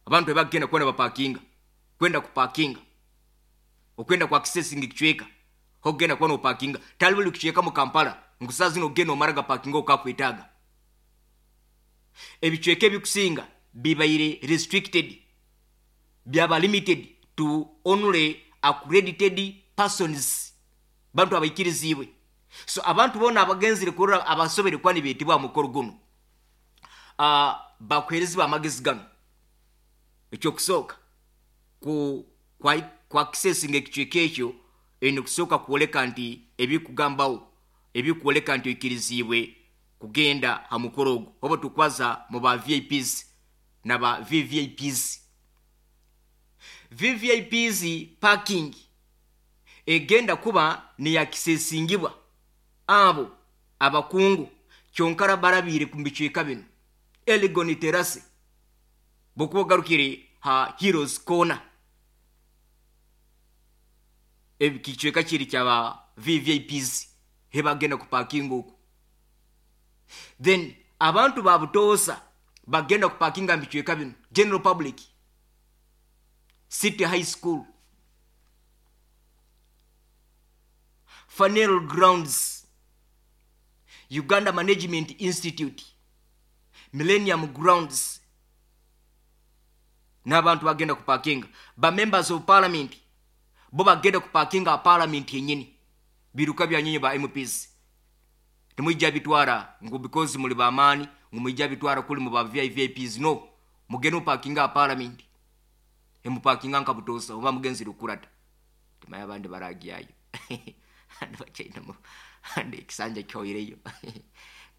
Abantu ebagenda kuba nibapakinga, kwenda kupakinga, okwenda kwa accessing ekicweka hokugenda kuba nopakinga, tali buli kicweka mu Kampala ngu saa zino ogenda omara gapakinga okakwetaaga. Ebicweka ebikusinga bibaire restricted, byaba limited to only accredited persons, bantu abaikiriziibwe. So abantu boona abagenzire kurora abasobere kuba nibeetibwa aha mukoro gunu, bakuheerezibwa amagezi ganu. Ekyokusooka, ku ku accessinga ekicweka ekyo, oine kusooka kwoleka nti ebikugambaho ebikwoleka nti oikiriziibwe kugenda ha mukoro ogu. Oba tukwaza mu ba VIPs na ba VVIPs. VVIPs parking egenda kuba neyakisesingibwa abo abakungu kyonkara barabiire ku bicweka binu. Elgon Terrace, bwokuba ogarukire ha Heroes Corner, ekicweka kiri kyaba VVIPs hebagenda kupakinga oku. Then abantu ba butoosa bagenda kupakinga mu bicweka binu. General public, City High School, Funeral Grounds, Uganda Management Institute, Millennium Grounds, n'abantu bagenda kupakinga. Ba members of parliament bo bagenda kupakinga parliament yenyini, biruka bya nyinyi ba MPs temwijja bitwara ngu because muli bamaani ngu mwijja bitwara kuli mu ba VIPs. No, mugende mupakinga parliament, emupakinga nka butosa oba mugenzire okurata timanya abandi baragyayo andi bachainamu andi ekisanja kyoireyo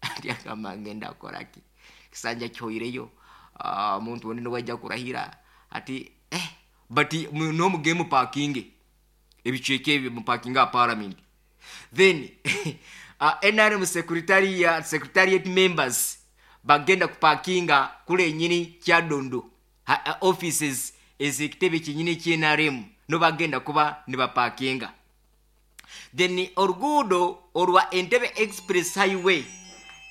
andi agamba ngenda akoraki ekisanja kyoireyo. Omuntu ondi niwajja kurahira ati but nomugende mupakinge ebicweka ebyo, mupakinga parliament. Then NRM secretariat members bagenda kupakinga kule enyini Kyadondo offices ez'ekitebe kyenyini kye NRM, no bagenda kuba nibapakinga. Then oruguudo orwa Entebbe Express Highway,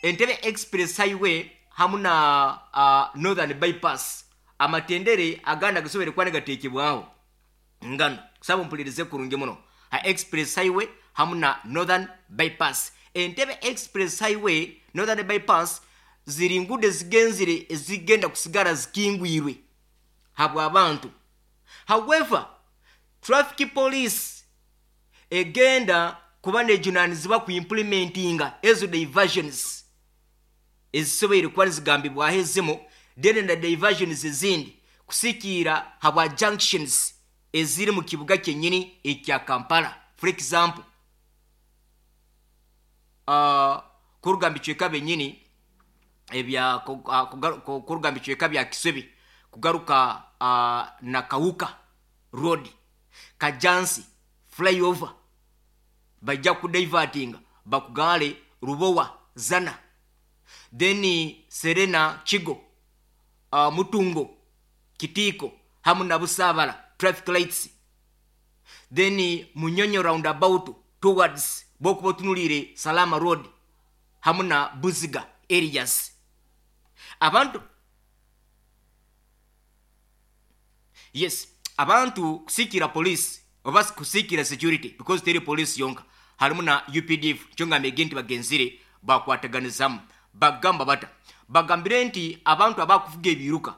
Entebbe Express Highway hamu na Northern Bypass, amatendere agandi agasobere kuba nigateekebwaho ngano kusaba mpulirize kurungi muno. Ha Express Highway hamu na Northern Bypass, Entebbe Express Highway, Northern Bypass ziri ngudo ezigenzire ezigenda kusigara zikingwirwe habw'abantu. However, traffic police egenda kuba nejunanizibwa ku implementinga ezo diversions ezisoboire kuba nizigambibwaho ezimu, then na diversions ezindi kusikiira habwa junctions eziri mu kibuga kyenyini ekya Kampala. For example, kuruga mu bicweka byenyini ebya kuruga mu bicweka bya Kisubi kugaruka na Kawuka Road, Kajansi flyover, bajja kudivertinga bakugale Rubowa Zana, then Serena Kigo, Mutungo Kitiko hamu na Busabala traffic lights, then Munyonyo roundabout towards bokuba otunulire Salama Road hamu na Buziga areas. Abantu, yes, abantu kusikira police oba kusikira security, because teri police yonka, harimu na UPDF. Kyo ngambye nti bagenzire bakwataganizamu, bagamba bata bagambire nti abantu abakuvuga ebiruka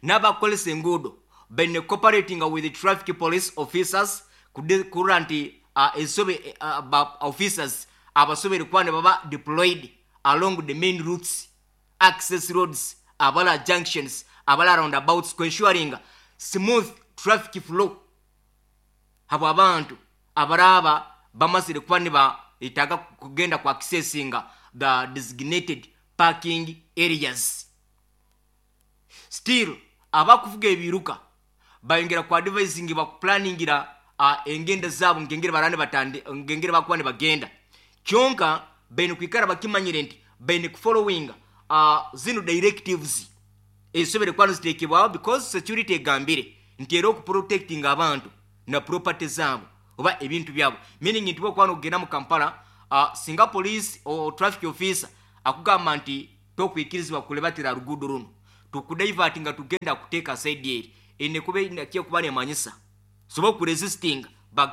n'abakolesa enguudo baine cooperating with the traffic police officers kurora nti esobe officers abasobere kuba ne baba deployed along the main routes, access roads, abala junctions, abala roundabouts, ensuring smooth traffic flow habwa abantu abaraba bamazire kuba niba etaga kugenda ku accessinga the designated parking areas. Still, abakuvuga ebiruka bayongera ku advising, bakuplaningira engenda zaabo ngengere barane batande ngengere bakuba nibagenda. Kyonka baine kwikara bakimanyire nti baine kufollowinga zino directives ezisobere kuba niziteekebwaho, because security egambire nti era okuprotectinga abantu na property zaabo oba ebintu byabo, meaning nti bwokuba nokugenda mu Kampala, singa police o traffic officer akugamba nti tokwikirizibwa kulebatira ruguudo runo, Tukudivertinga, tugenda kuteeka side eri ene kuba kyekuba nemanyisa sobola okuresistinga.